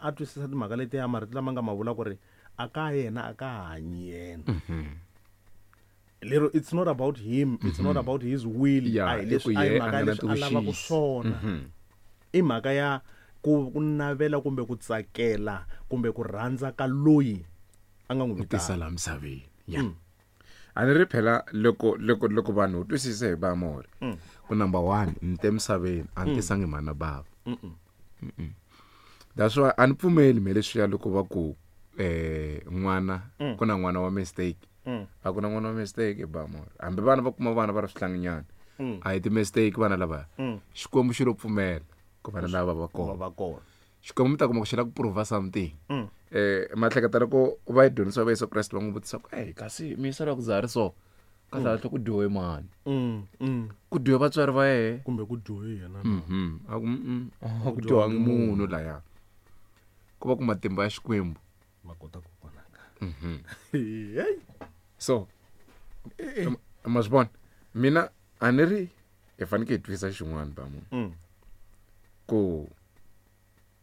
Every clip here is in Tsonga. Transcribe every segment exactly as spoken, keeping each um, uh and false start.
a twisisa timhaka leti ya marito lama nga ma vula ku ri a ka yena a ka hanyi yena. Lero it's not about him, it's not about his will. Yeah, a hi i ku leswi a hi ye a mhaka nga ya na leswi a lavaka tivuxisi. swona. I mhaka ya ku ku navela kumbe ku tsakela kumbe ku rhandza ka loyi a nga n'wi tisa vitana. laha misaveni. Ya. A ni ri phela loko loko loko vanhu u twisise hi vamori. Ku number one ni te misaveni a ni tisangi mhani na bava. Mm-mm. That's why a ni pfumeli me leswiya loko va ku eh n'wana ku na n'wana wa mistake. A ku na n'wana wa mistake hi bamori. Hambi vana va kuma vana va ri swihlanginyana. A hi ti mistake vana lava. Xikwembu xi lo pfumela ku vana lava va Ku va kona. va kona. Xikwembu mi ta kuma ku xi lava ku prova something. Eh mahleketa loko va yi dyondzisa va Yesu Kreste va n'wi vutisa ku ey kasi mi yisa ku za ri so ka kahle ku dyohe mani Mm, mm. ku dyohe vatswari va yehe Kumbe ku dyohe yena. Mhm. A ku mm, a ku dyohangi munhu laya ku va ku matimba ya Xikwembu. Ma kota ku vonaka. Mhm. Hey. So ma swi vona mina a ni ri hi fanekele hi twisisa xin'wana ba munhu Mm. ku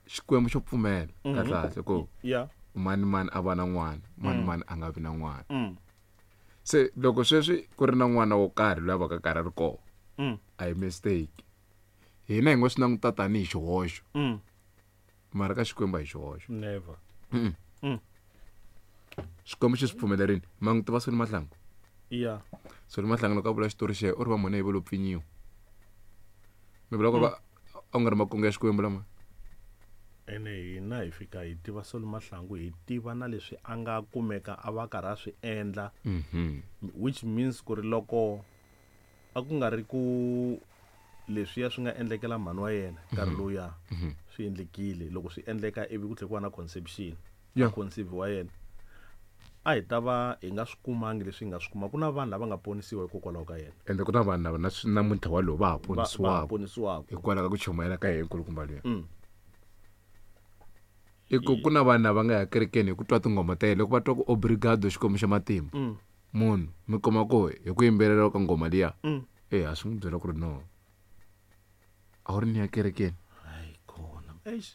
Xikwembu xo pfumela kahle kahle ku Yeah. mani mani a va na n'wana mani mani a nga vi na n'wana. Mm. Se loko sweswi ku ri na n'wana wo karhi loyi a va ka karhi a ri kona Mm. a hi mistake. Hina hi ngo swi languta tanihi xihoxo Mm. mara ka Xikwembu a hi xihoxo. Never. Mm. Mm. Xikwembu xi swi pfumelerile ma n'wi tiva Solly Mahlangu. Yeah. Solly Mahlangu loko a vula xitori xe u ri va mhani yi va lo pfinyiwa. Mi vula ku va a ku nga ri makungu ya Xikwembu lama. Ene hina hi fika hi tiva Solly Mahlangu hi tiva na leswi a nga kumeka a va karhi a swi endla Mhm. which means ku ri loko a ku nga ri ku leswiya swi nga endlekela mhani wa yena nkarhi lowuya swi endlekile loko swi endleka ivi ku tlhela ku va na conception Yeah. conceive wa yena a hi ta va hi nga swi kumangi leswi hi nga swi kuma ku na vanhu lava nga ponisiwa hikokwalaho ka yena Ende ku na vanhu lava na namuntlha walowu va ha va va ponisiwaka ponisiwaka hikwalaho ka ku chumayela ka yena nkulukumba luya. Mm. I ku ku na vanhu lava nga ya kerekeni hi ku twa tinghoma ta yena loko va twa ku obrigado Xikwembu xa matimba. Mm. Munhu mi kuma ku hi ku yimbelela ka nghoma liya Mm. eh a swi n'wi byela ku ri no a wu ri ni ya kerekeni. Hayi khona eish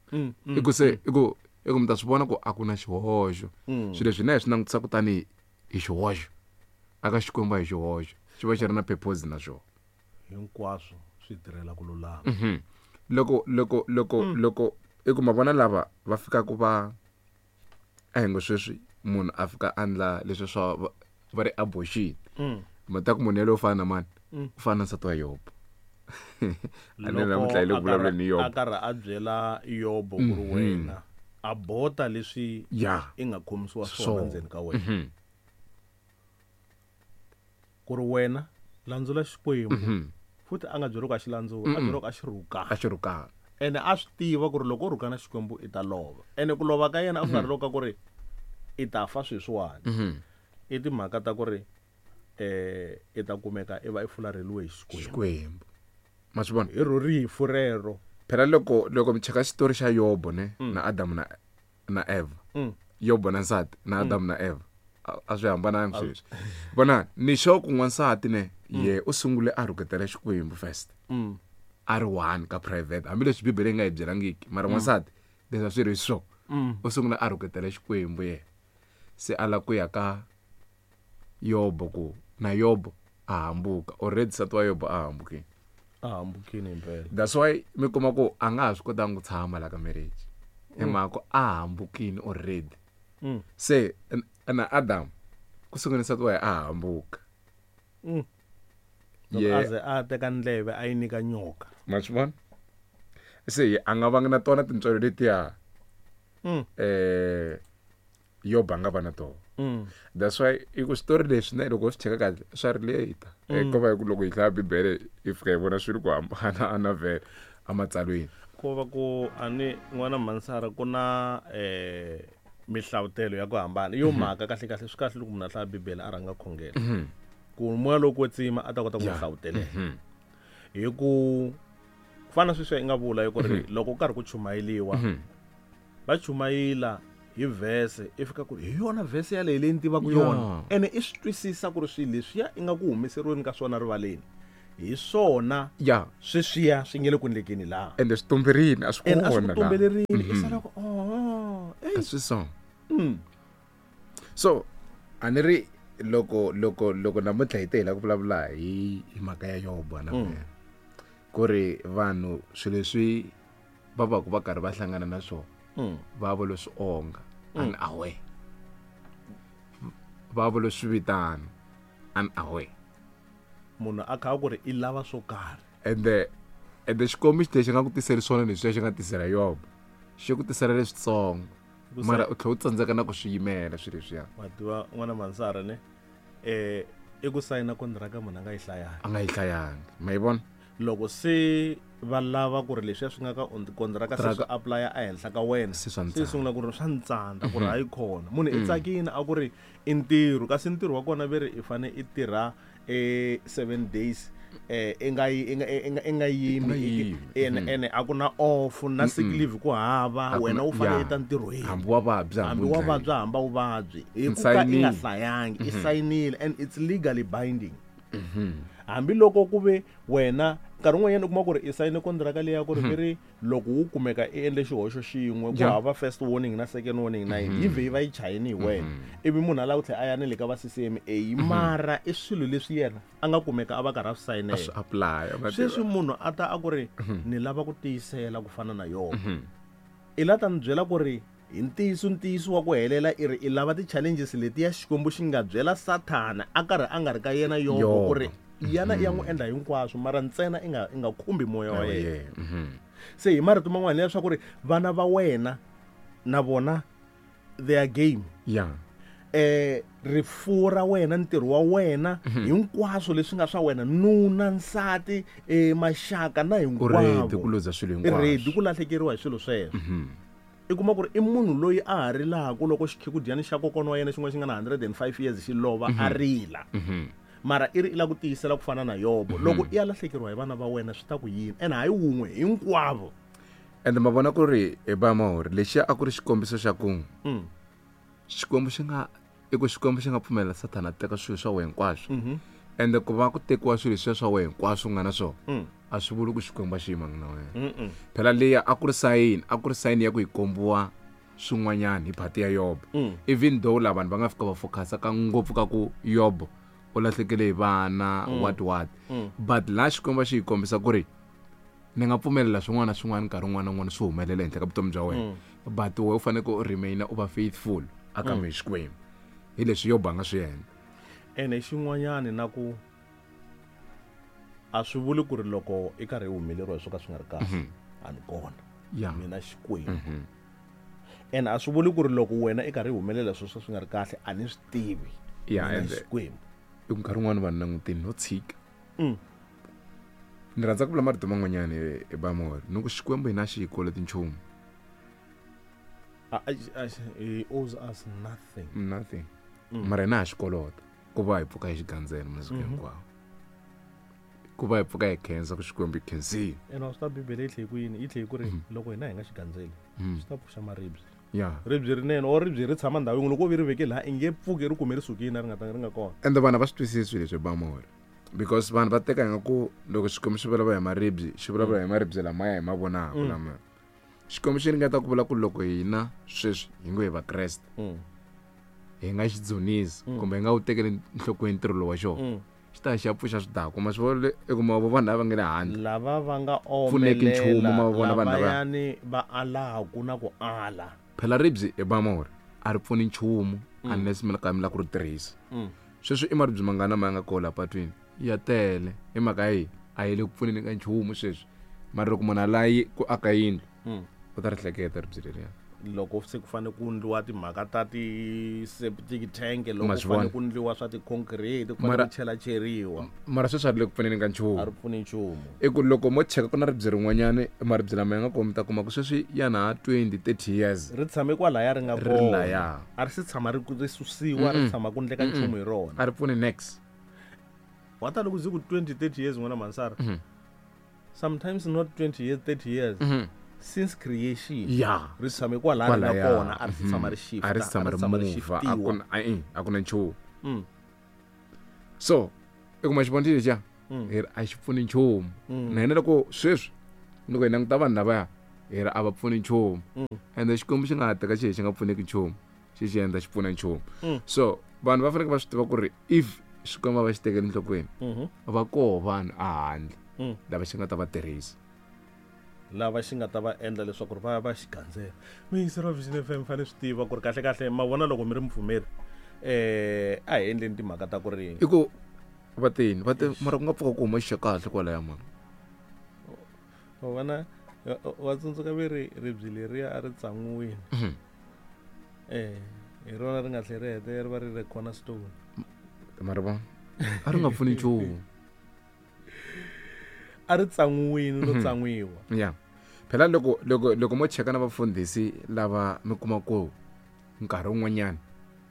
Mm, mm, I ku se i ku i ku mi ta swi vona ku a ku na xihoxo. mm. Swilo leswi hina hi swi langutisaka tanihi hi xihoxo aka Xikwembu a hi xihoxo xi va xi ri na purpose na xona. Hinkwaswo swi tirhela ku lulama. Mhm. Loko loko loko loko i ku ma vona lava va fikaka va a hi ngo sweswi munhu a fika a endla leswi swa va- va ri abortion. Mm. Ma ta ku munhu yaloye u fana na mani? Mm. U fana na nsati wa Yobo. A ni Loko namuntlha hi le a ku vulavuleni hi karhi- a Yobo. karhi a byela Yobo ku ri wena a bota leswi Ya. i nga khomisiwa swona Swona. ndzeni ka wena Mhm. ku ri wena landzula Xikwembu Mhm. futhi a nga byeriwi ku a xi landzula a byeriwi ku a xi rhukana A xi rhukana. ene a swi tiva ku ri loko u rhukana Xikwembu i ta lova ene ku lova ka yena a ku nga ri loko ka ku ri i ta fa sweswiwani Mhm. i timhaka ta ku ri eh i ta kumeka i va i fularheliwe hi Xikwembu Xikwembu. Ma swi vona? hi ro rifu rero Phela loko loko mi cheka xitori xa Yobo ne na Adamu na na Eva. Mm. Yobo na nsati na Adamu na Eva. A- A swi hambanangi sweswi. Vona ni sure ku n'wansati ne ye u sungule a rhuketela Xikwembu first. Mm. A ri one ka private hambileswi Bibele yi nga hi byelangiki mara n'wansati leswi a swi ri swo. Mm. U sungule a rhuketela Xikwembu yena. Se a lava ku ya ka Yobo ku na Yobo a hambuka already nsati wa Yobo a hambukile. A hambukile impela. That's why mi kuma ku a nga ha swi kotangi ku tshama la ka marriage. Hi mhaka ku a hambukile already. Mm. Se n- na Adam ku sungule nsati wa yena a hambuka. Mm. Loko Ye a ze a teka ndleve a yi nyika nyoka. ma swi vona? Se a nga vangi na tona tintswalo letiya Mm. eh Yobo a nga va na tona. Mm. That's why i ku switori leswi na loko u swi cheka kahle swa relate. Eh ko va hi ku loko hi hlaya Bibele hi fika hi vona swilo ku hambana a na vhele ematsalweni. Ko va ku a ni n'wana Mansara ku na eh mihlavutelo ya ku hambana yo mhaka kahle kahle swi kahle loko munhu a hlaya Bibele a rhanga khongela ku moya lowo kwetsima a ta kota ku n'wi Yeah. hlavutelela hi ku ku fana na sweswi i nga vula hi ku ri loko ku karhi ku chumayeliwa va chumayela hi vhese i fika ku ri hi yona vhese yaleyo leyi ni tivaka yona Yeah. ene i swi twisisa ku ri swilo leswiya i nga ku humeseriweni ka swona rivaleni Hi swona ya sweswiya swi nge le ku endlekeni laha ende swi tumberini a swi and a swi kona ku laha tumbelerini i sala ku oh a swi so mm. So a ni ri loko loko loko namuntlha hi te hi lava ku vulavula hi hi mhaka ya Yobo na Mm. mm. ku ri vanhu swilo leswi va va ku va karhi va hlangana na swona Mm. va vo leswi onga unaware va vo leswi vitana unaware Munhu a kha a ku ri i lava swo karhi ende ende xikombi xi lexi nga ku tiseli swona leswiya xi nga tisela Yobo xi ku tisela leswitsongo Ku mara u tlhela u tsandzeka na ku swi yimela swilo leswiya wa tiva n'wana Mansara ne eh i ku sayina kontiraka munhu a nga yi hlayangi a nga yi hlayangi ma yi vona loko se va lava ku ri leswiya swi nga ka on- kontiraka se swi Kontraka- apply-a ehenhla ka wena Se swa se ntsandza. sungula ku ri swa ntsandza ku ri hayi khona munhu i tsakini a ku ri i ntirho kasi ntirho wa kona ve ri i fane i tirha eh seven days eh i nga yi i nga i nga i nga yimi I nga yimi. ene ene a ku na off na sick leave ku hava A ku wena na- u fanele ya. i ta ntirhweni hambi wa vabya hambi wa vabya hamba u vabyi hi ku ka i Nsayinile. nga hlayangi i sayinile and it's legally binding hambiloko ku ve wena nkarhi wun'wanyana u kuma ku ri i sayine kontiraka leya ku ri ve ri loko wu kumeka i endle xihoxo xin'we ku Yeah. hava first warning na second warning na yini yi vhe yi va yi chayini hi wena ivi munhu a lava ku tlhela a ya na le ka va C C M A mara i swilo leswi yena a nga kumeka a va karhi a swi a sayinela swi apply ma tiva. Sweswi munhu a ta a ku ri ni lava ku tiyisela ku fana na yona i la ta ni byela ku ri hi ntiyiso ntiyiso wa ku helela i ri i lava ti-challenges letiya Xikwembu xi nga byela Sathana a karhi a nga ri ka yena Yobo Yobo. ku ri yana i ya n'wi endla hinkwaswo mara ntsena i nga i nga khumbi moya wa Oh, yena yeah. Mhm. Se hi marito man'wana leswaku ri vana va wena na vona their game yeah eh rifuwo ra wena ntirho wa wena hinkwaswo leswi nga swa wena nuna nsati eh maxaka na u hinkwavo ready ku luza swilo i ready hinkwaswo ku lahlekeriwa hi swilo sweswo i kuma ku ri i munhu loyi a ha rilaku loko xikhikudyani xa kokwana wa yena xin'wana xi nga na hundred and five years xi lova a rila mara i ri i lava ku tiyisela ku fana na Yobo loko i ya lahlekeriwa hi vana va wena swi ta ku yini ene hayi wun'we hinkwavo ende ma vona ku ri hi ba mahori lexiya a ku ri xikombiso xa ku Mm. Xikwembu xi nga i ku Xikwembu xi nga pfumelela Sathana a teka swilo swa wena hinkwaswo ende ku va ku tekiwa swilo leswiya swa wena hinkwaswo u nga na swona Mm. a swi vuli ku Xikwembu a xi yimangi na wena Mm-mm. phela leya a ku ri sayini a ku ri sayini ya ku yi kombiwa swin'wanyana hi phati ya Yobo Mm. even though la vanhu va nga fika va focusa ka ngopfu ka ku Yobo u lahlekele hi vana what what but laha Xikwembu a xi yi kombisa ku ri ni nga pfumelela swin'wana na swin'wana nkarhi wun'wana na wun'wana swi humelela henhla ka vutomi bya wena but wena u fanekele u remaina u va faithful aka mm. Xikwembu hi leswi Yobo a nga swi endla Ene xin'wanyani na ku a swi vuli ku ri loko i karhi i humeleriwa hi swo ka swi nga ri kahle a ni kona ya mina Xikwembu ene a swi vuli ku ri loko wena i karhi i humelela swilo swo swi nga ri kahle a ni swi tivi Ya, mina ende- Xikwembu i ku nkarhi wun'wani vanhu langutini no tshika Mm. ni rhandza ku vula marito man'wanyani hi bamori ni ku Xikwembu hina xi hi koloti nchumu A- a- a- he owes us nothing nothing mara hina ha xi kolota ku va hi pfuka hi xigandzelo masiku hinkwawo ku va hi pfuka hi khensa ku Xikwembu hi khensile ene wa swi ta Bibele yi tlhe yi ku yini yi tlhe yi ku ri loko hina hi nga xi gandzeli swi ta pfuxa maribye ya ribye rinene or ribye ri tshama ndhawu yin'we loko wo vi ri veke laha i nge pfuki ri kume ri sukile ri nga ta ri nga kona ende vanhu a va swi twisisi swilo leswi bamori because vanhu va teka ingaku loko Xikwembu xi vulavula hi maribye xi vulavula hi maribye lamaya hi ma vonaka lama Xikwembu xi ringeta ku vula ku loko hina sweswi hi ngo hi vakreste Mm. hi nga xi dzunisi kumbe hi nga wu tekeli nhlokweni ntirho lowu wa xona Mm. xi ta xi ya pfuxa swidakwa ma swi vona le- i kuma vo vanhu lava nga le handle Lava va nga Pfuneki nchumu, omelela ma vona vanhu lava. lavayani va alaku na ku ala Phela ribye hi bamori a ri pfuni nchumu unless mi ka mi lava ku ri tirhisa Mm. sweswi i maribye mangana ma nga kona patwini ya tele hi mhaka yi a yi le ku pfuneni ka nchumu sweswi mara loko munhu a layi ku aka yindlu Mm. u ta ri hleketa ribye leriya Loko se ku fane ku ndliwa timhaka ta ti-septic tank loko Ma ku swi fane vona. ku ndliwa swa ti-concrete ku fane Mara- ku chelacheriwa mara sweswi a ri le ku pfuneni ka a nchumu ri pfuni nchumu i ku loko mo cheka ku na ribye rin'wanyani maribye lama ya nga kona mi ta kuma ku sweswi ya na twenty thirty years ri tshame kwalaya ri nga Ri kona laya. a ri se tshama ri ri susiwa ri tshama ku ndleka nchumu hi rona a ri pfuni next wa ta loko zi ku twenty thirty years n'wana Mansara sometimes not twenty years thirty years since creation ya ri tshame kwalaya ri nga Kwalaya. kona a ri se tshama ri a ri si tshama ri tshama ri mova a shiftiwa ku na a- a ku na nchumu Mm. so i kuma xivonile lexiya Hi ri a xi pfuni nchumu. Na hina loko sweswi loko hi languta vanhu lavaya hi ri a va pfuni nchumu. Ende Xikwembu xi nga ha teka xi xi nga pfuneki nchumu xi xi endla xi pfuna nchumu. So vanhu va fanekele va swi tiva ku ri if Xikwembu va xi tekela enhlokweni va koho vanhu a handle lava xi nga ta va tirhisa. Lava xi nga ta va endla leswaku ri va ya va xi gandzela. Muyingiseri wa Vision F M fanele swi tiva ku ri kahle kahle ma vona loko mi ri mupfumeri eh a hi endleni timhaka ta ku ri i ku va tini va te mara ku nga pfuka ku huma xa kahle kwalaya mani. Wa vona wa tsundzuka ve ri ribye leriya a ri tsan'wiwile. Eh hi rona ri nga tlhela ri hete ri va ri ri cornerstone. Mara va a ri nga pfuni nchumu. A ri tsan'wiwile no tsan'wiwa. Yeah. Phela loko loko loko mo cheka na vafundhisi lava mi kuma ku nkarhi wun'wanyana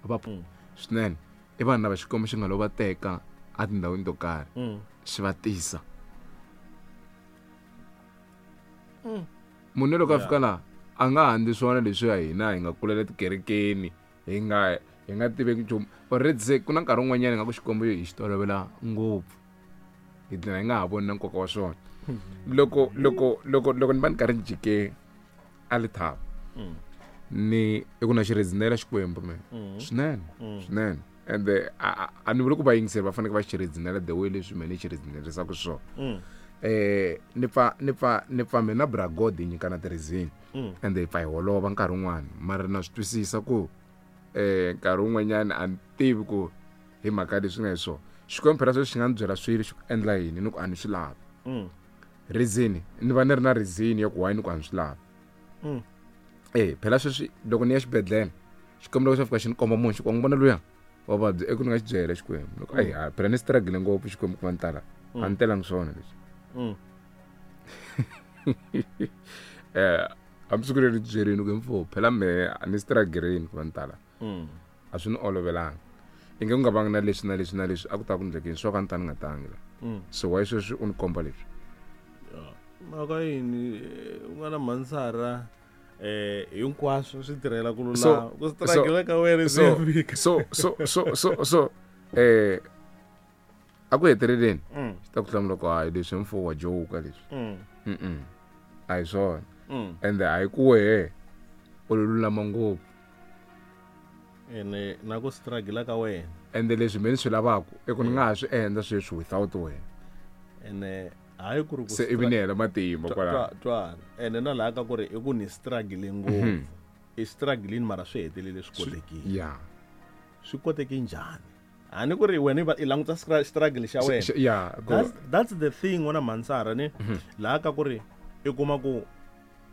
va swinene i vanhu lava Xikwembu xi nga lo va teka a tindhawini to karhi xi va tisa. Munhu loko a fika laha a nga handzi swona leswi ya hina hi nga kulela tikerekeni hi nga hi nga tiveki nchumu. Already se ku na nkarhi wun'wanyana nga ku Xikwembu hi xi tolovela ngopfu hi dlina hi nga ha voni na nkoka wa swona. Loko loko loko loko ni va ni karhi ni jike a Lethaba ni i ku na xi rezinela Xikwembu mina swinene swinene ende a ni vuli ku vayingiseri va fanekele va xi rezinela the way leswi mina ni xi rezinerisaka swona. Eh ni pfa ni pfa ni pfa mina bra God hi nyikana ti-reason ende hi pfa hi holova nkarhi wun'wana mara na swi twisisa ku eh nkarhi wun'wanyana a ni tivi ku hi mhaka leswi nga hi swona. Xikwembu phela sweswi xi nga ni byela swilo xi ku endla yini ni ku a ni swi lavi. Reason ni va ni ri na reason ya ku why ni ku a ni swi lavi. Eh phela sweswi loko ni ya xibedhlele Xikwembu loko xo fika xi ni komba munhu xi ku n'wi vona luya wa vabya i ku ni nga xi byela Xikwembu loko ayi ha phela ni struggle ngopfu Xikwembu ku va ni tala a ni telangi swona leswi. Eh hambi siku leri byerini ku mfo phela mehe a ni struggle ku va ni tala a swi ni olovelanga. I nge ku nga vangi na leswi na leswi na leswi a ku ta ku ndlekeni swo ka ni ta ni nga tangi la. So why sweswi u ni komba leswi? Mhaka yini u nga na mhansara eh hinkwaswo swi tirhela ku lulama ku struggle ka wena swi fika. So so so so so eh a ku heteleleni xi ta ku hlamula ku hayi leswi mfo wa joke leswi. Mm a hi swona. Ende a hi ku wehe u lulama ngopfu. Ene na ku struggle ka wena. Ende leswi mina swi lavaka i ku ni nga ha swi endla sweswi without wena. Ene hayi ku ri ku se ivi ni hela matimba kwalaho. Twana ene na laha ka ku ri i ku ni struggle ngopfu. I struggle mara swi hetelele swi kotekile. Yeah. Swi koteke njhani? A ni ku ri wena i languta struggle xa wena. Yeah. That's, that's the thing wena mhansara ni laha ka ku ri i kuma ku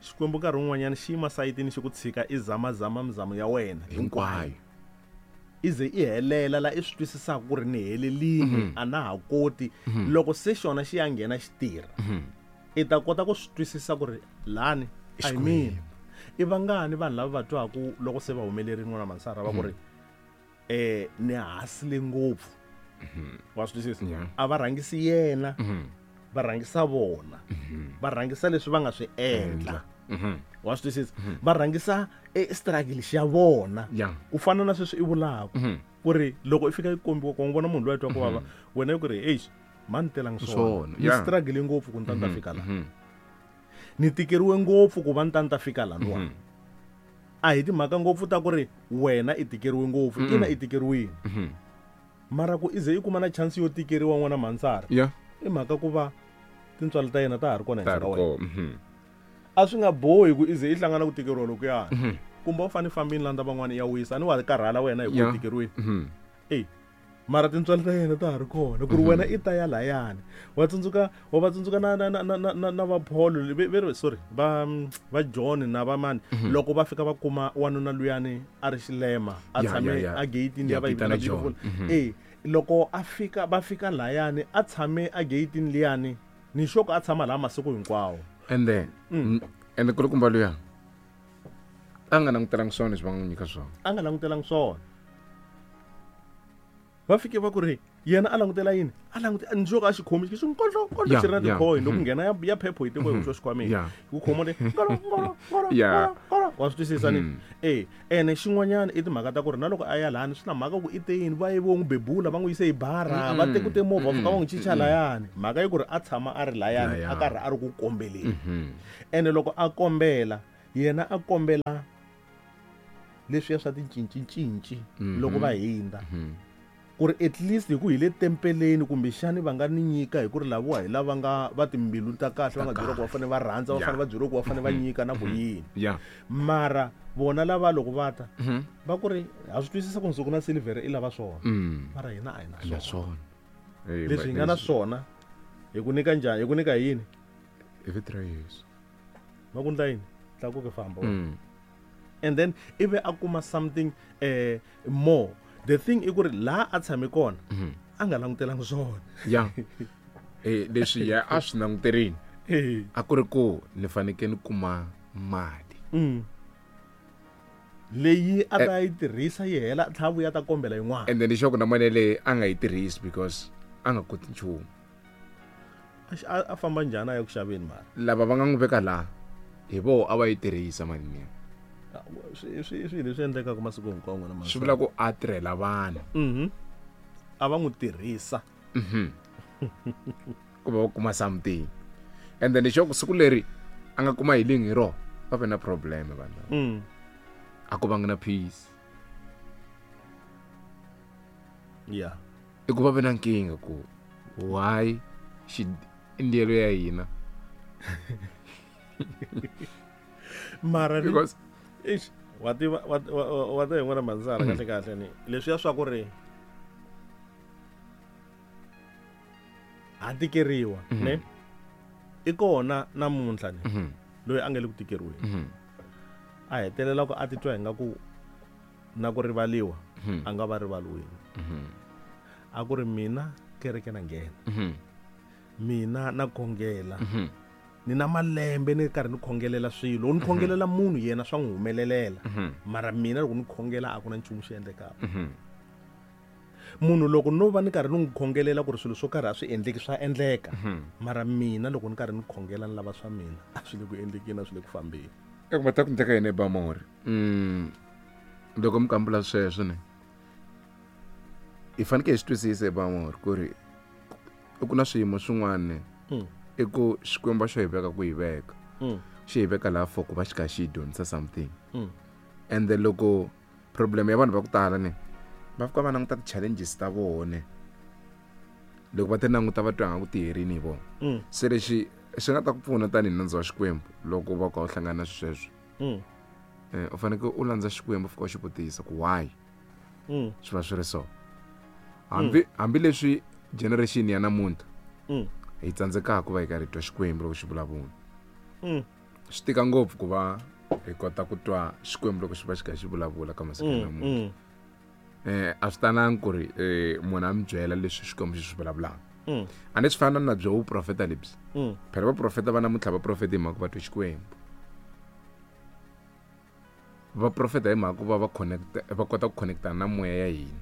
Xikwembu nkarhi wun'wanyana xi yima sayitini xi ku tshika i zamazama mizamo ya wena hinkwayo. I ze i helela la i swi twisisaka ku ri ni helelini a na ha koti. Loko se xona xi ya nghena xi tirha i ta kota ku swi twisisa ku ri lani a hi mina. I vangani vanhu lava va twaku loko se va humelerile n'wana mhansara va ku ri eh ni hasile ngopfu. Wa swi twisisa? A va rhangisi yena va rhangisa vona. Va rhangisa leswi va nga swi endla. Wa swi twisisa? Va rhangisa e struggle xa vona. Ku fana na sweswi i vulaka ku ri loko i fika i kombiwa ku vona munhu loyi a twa ku vava wena i ku ri eish ma ni telangi swona ni struggle ngopfu ku ni ta ni ta fika laha. Ni tikeriwe ngopfu ku va ni ta ni ta fika laniwa. A hi timhaka ngopfu ta ku ri wena i tikeriwe ngopfu ina i tikeriwile. Mara ku i ze i kuma na chance yo tikeriwa n'wana mhansara. I mhaka ku va tintswalo ta yena ta ha ri kona henhla ka wena. A swi nga bohi ku i ze i hlangana ku tikeriwa lokuyani. Kumbe u fanele fambini landza van'wana ya wisa a ni wa karhala wena hi ku tikeriwile. Eh mara tintswalo ta yena ta ha ri kona ku ri wena i ta ya layani. Wa tsundzuka wa va tsundzuka na na na na na va Paul ve sorry va va John na va mani loko va fika va kuma wanuna luyani a ri xilema a tshame a gate-ini ya va yi vitana Beautiful. Eh loko a fika va fika layani a tshame a gate-ini liyani ni xoko a tshama laha masiku hinkwawo. Ende ende kulukumba luya a nga langutelangi swona leswi va nga n'wi nyika swona. A nga langutelangi swona. Va fike va ku ri yena a langutela yini? A langute njoka a xi khomi xi nkondlo nkondlo xi ri na tikhoyi loko nghena ya ya phepho hi tiko hi xo xikhwameni. Ku khomo le ngolo ngolo ngolo ngolo Wa swi twisisa ni e ene xin'wanyana i timhaka ta ku ri na loko a ya lani swi na mhaka ku i te yini va ye vo n'wi bebula va n'wi yise hi bara va teku timovha va fika va n'wi chicha layani mhaka yi ku ri a tshama a ri layani a karhi a ri ku kombeleni ene loko a kombela yena a kombela leswiya swa ticincincinci loko va hindza ku ri at least hi ku hi le tempeleni kumbexani va nga ni nyika hi ku ri laviwa hi lava nga va timbilu ta kahle va nga byeriwa ku va fanele va rhandza va fanele va byeriwa ku va fanele va nyika na ku yini mara vona lava loko va ta va ku ri ha swi twisisa ku nsuku na silivhere i lava swona mara hina a hi na swona leswi hi nga na swona hi ku nyika njhani hi ku nyika yini hi vito ra Yesu va ku ndla yini tlakuke famba and then ivi a kuma something eh more. The thing i ku ri laha a tshame kona a nga langutelanga swona ya eh leswi ya a swi languterini a ku ri ku ni fanekele ni kuma mali leyi a ta yi tirhisa yi hela tlha vuya ta kombela yin'wana and then lexaku na mali leyi a nga yi tirhisi because a nga koti nchumu a famba njhani a ya ku xaveni mali lava va nga n'wi veka laha hi voho a va yi tirhisa mali liya swi swi swi leswi endlekaka masiku hinkwawo n'wina swi vula ku a tirhela vanhu mhm a va n'wi tirhisa mhm ku va kuma something and then lexaku siku leri a nga kuma healing hi rona va ve na problem vanhu lava mm a ku vanga na peace yeah i ku va ve na nkingha ku why xi ndiyelo ya hina mara because eish wa tiva wa tiva n'wana manzara kahle kahle ni leswiya swa ku ri ha tikeriwa ne i kona namuntlha ni loyi a nga le ku tikeriweni a hetelela ku a titwa hi nga ku na ku rivaliwa a nga va rivaliweni a ku ri mina kereke na nghena mina na khongela ni na malembe ni karhi ni khongelela swilo ni khongelela munhu yena swa n'wi humelelela mara mina loko ni khongela a ku na nchumu xi endlekaka munhu loko no va ni karhi ni n'wi khongelela ku ri swilo swo karhi a swi endleki swa endleka mara mina loko ni karhi ni khongela ni lava swa mina a swi le ku endlekeni a swi le ku fambeni eku va ta ku ndleka yini ebamori mm loko mi kambula sweswo ne hi fanekele hi swi twisisa ebamori ku ri ku na swiyimo swin'wana i ku xikwembu xo hi veka ku hi veka xi hi veka laha for ku va xi kha xi hi dyondzisa something and then loko problem ya vanhu va ku tala ne va fika va languta ti-challenges ta vona loko va ti languta va twa nga ku ti herini hi vona se lexi xi nga ta ku pfuna tanihi nandzu wa xikwembu loko va ka u hlangana na sweswo u fanekele u landza xikwembu fika u xi vutisa ku why swi va swi ri so hambi hambileswi generation ya namuntlha hi tsandzekaka ku va hi karhi hi twa xikwembu loko xi vulavula swi tika ngopfu ku va hi kota ku twa xikwembu loko xi va xi kha xi vulavula ka masiku ya namuntlha eh a swi talangi ku ri munhu a mi byela leswi xikwembu xi swi vulavulaka a ni swi fana na byo vuprofeta lebyi phela vaprofeta va namuntlha va profeta hi mhaka va twe xikwembu va profeta hi mhaka ku va va connect va kota ku connecta na moya ya hina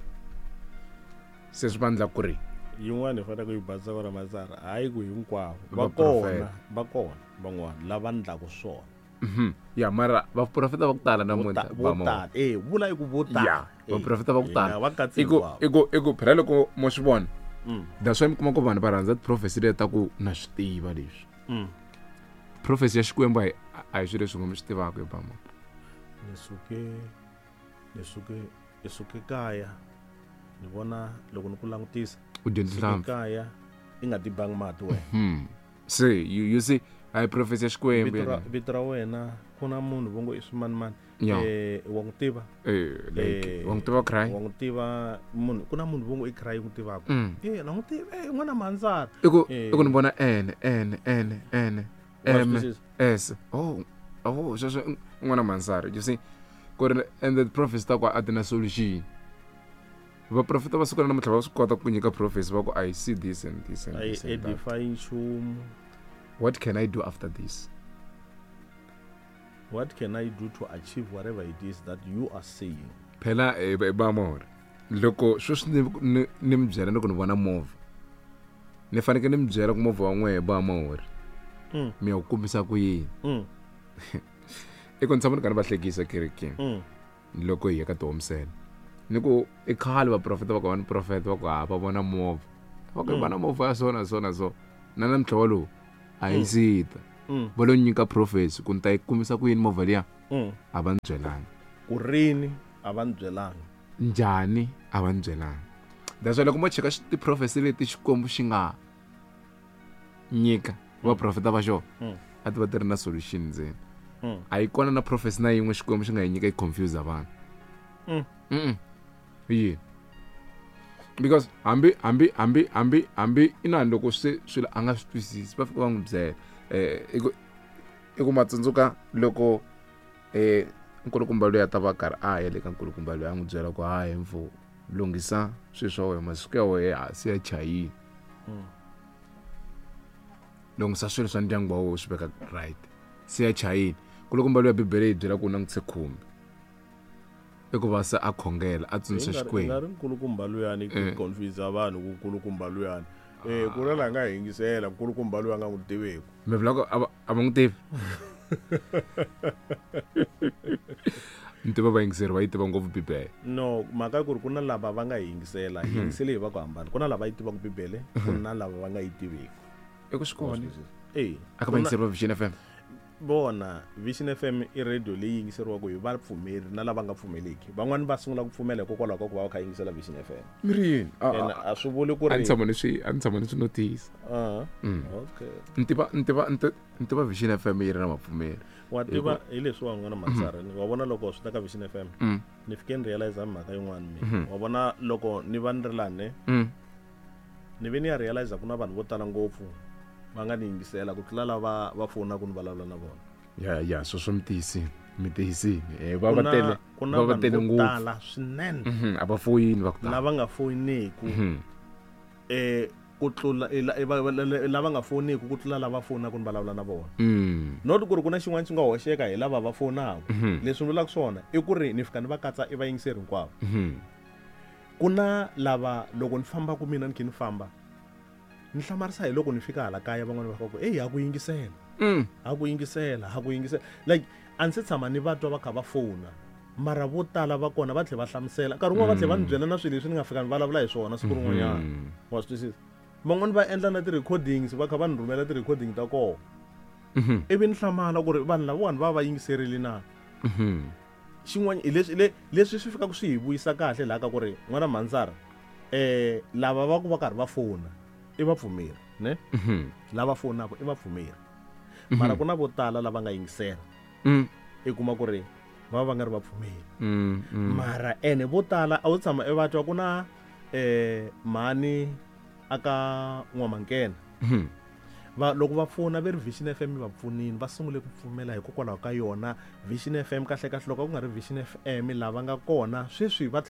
se swi vandla ku ri yin'wana hi fanele ku yi basisa kona masara hayi ku hinkwavo va kona va kona van'wana lava ndlaku swona ya mara vaprofeta va ku tala namuntlha vo tala eh vula i ku vo tala vaprofeta va ku tala i ku i ku i ku phela loko mo swi vona that's why mi kuma ku vanhu va rhandza ti-prophecy leti ta ku na swi tiva leswi prophecy ya xikwembu a hi a hi swilo leswi nga mi swi tivaka hi bama ni suke ni suke ni suke kaya ni vona loko ni ku langutisa u dyondzisa kaya i nga tibangi mati wena se you you see a hi prophecy ya xikwembu vito ra wena ku na munhu vo ngo i swimanimani eh wa n'wi tiva eh like wa n'wi tiva cry wa n'wi tiva munhu ku na munhu vo ngo i cry n'wi tivaka eh na n'wi tiva eh n'wana manzara i ku i ku ni vona n n n n m s oh oh sweswo n'wana manzara you see ku ri and the prophecy ta ku a ti na solution vaprofeta va siku ra namuntlha va swi kota ku nyika prophecy va ku I see this and this and this and that. Edify nchumu. What can I do after this? What can I do to achieve whatever it is that you are saying? Phela e bamore loko sweswi ni ni mi byela loko ni vona movha ni fanekele ni mi byela ku movha wa n'wehe bamore mi ya ku kombisa ku yini I ku ni tshama ni karhi va hlekisa kerekeni Mm. loko hi ya ka tihomisela ni ku i khale vaprofeta va ku va ni profeta va ku ha va vona movha va ku va na movha ya so na so na so na namuntlha walowu a yi sita Mm. va lo nyika prophecy ku ni ta yi kumisa ku yini movha liya Mm. a va ni byelanga ku rini a va ni byelanga njhani a va ni byelanga that's why loko mo cheka xi- ti-prophecy leti xikwembu xi nga nyika vaprofeta va xona Mm. a ti va ti ri na solution ndzeni Mm. a yi kona na prophecy na yin'we xikwembu xi nga yi nyika yi confuse vanhu Mm. Mm-mm. yini because hambi hambi hambi hambi hambi inani loko se swilo a nga swi twisisi va fika va n'wi byela eh i ku i ku matsundzuka loko eh nkulukumba loyi a ta va karhi a ya le ka nkulukumba loyi a n'wi byela ku hayi mfo lunghisa swilo swa wena masiku ya wena hansi ya chayini Mm. lunghisa swilo swa ndyangu wa wena u swi veka right se ya chayini nkulukumba loyi ya bibele yi byela ku u langutise khumbi i ku va se a khongela a tsundzuxa nga xikwembu ri nkulukumba luyani ku Eh. confuse vanhu ku nkulukumba luyani eh ku na la nga yingisela nkulukumba luya nga n'wi tiveku mi vula ku a va a va n'wi tivi ni tiva vayingiseri va yi tiva ngopfu bibele no mhaka ya ku ri ku na lava va nga yi yingisela hi yingisele hi va ku hambana ku na lava yi tivaka bibele ku na lava va nga yi tiveki i ku swi kona Eh, a ka ku na- vayingiseri va vision f m vona vision f m i radio leyi yingiseriwaka hi vapfumeri na lava nga pfumeleki van'wani va sungula ku pfumela hikokwalaho ka ku va va kha yingisela vision f m mi ri yini A- and a a swi vuli ku a ri ni tshama ni swi a ni tshama ni swi notice Ah, Mm. okay ni tiva ni tiva ni ti- ni tiva vision f m yi ri na vapfumeri wa tiva hi leswiwa n'wana matsara wa vona loko swi ta ka vision f m Mm. ni fike ni realize mhaka yin'wana mina wa vona loko ni va ni ri lani Mm. ni ve ni ya realize ku na vanhu vo tala ngopfu va nga ni yingisela ku tlula lava va fonaka ni vulavula na vona ya ya sweswo mi tiyisini mi tiyisini Eh, va Ku va na- tele ku na va va vanhu tele vo ngopfu tala swinene Mhm, a va foyini va ku tala lava nga foyineki Mhm. eh ku tlula eh, la- eh, va- va- la- lava nga foyineki ku tlula lava fonaka ni vulavula na vona Mm. not ku ri ku na xin'wana xi nga hoxeka hi lava va fonaka Mhm. leswi ni vulaka swona i ku ri ni fika ni va katsa i vayingiseri hinkwavo Mhm. ku na lava loko ni fambaka mina ni khe ni famba ni hlamarisa hi loko ni fika hala kaya van'wana va fika ku eyi ha ku yingisela Mm. ha ku yingisela ha ku yingisela like a ndzi se tshama ni va twa va kha va fona mara vo tala va kona va tlhela va hlamusela nkarhi wun'wana va tlhela va ni byela na swilo leswi ni nga fika ni vulavula hi swona siku rin'wanyana Mm. wa swi twisisa van'wani va endla na ti-recordings va kha va ni rhumela ti-recording ta kona Mhm. ivi ni hlamala ku ri vanhu lavawani va va yingiserile na Mhm. xin'wana hi leswi le- leswi swi fikaka swi hi vuyisa kahle laha ka ku ri n'wana mhandzara um lava va ku va karhi va fona i vapfumeri ne Mhm. lava fonaka i vapfumeri mara ku na vo tala lava nga yingisela Mm. i kuma ku ri va va va nga ri vapfumeri Mm. Mm. mara ene vo tala a wu tshama i va twa ku na um mhani aka n'wamankena Mhm. va loko va pfuna ve ri vision f m va pfunini va sungule ku pfumela hikokwalaho ka yona vision f m kahle kahle loko a ku nga ri vision f m lava nga kona sweswi va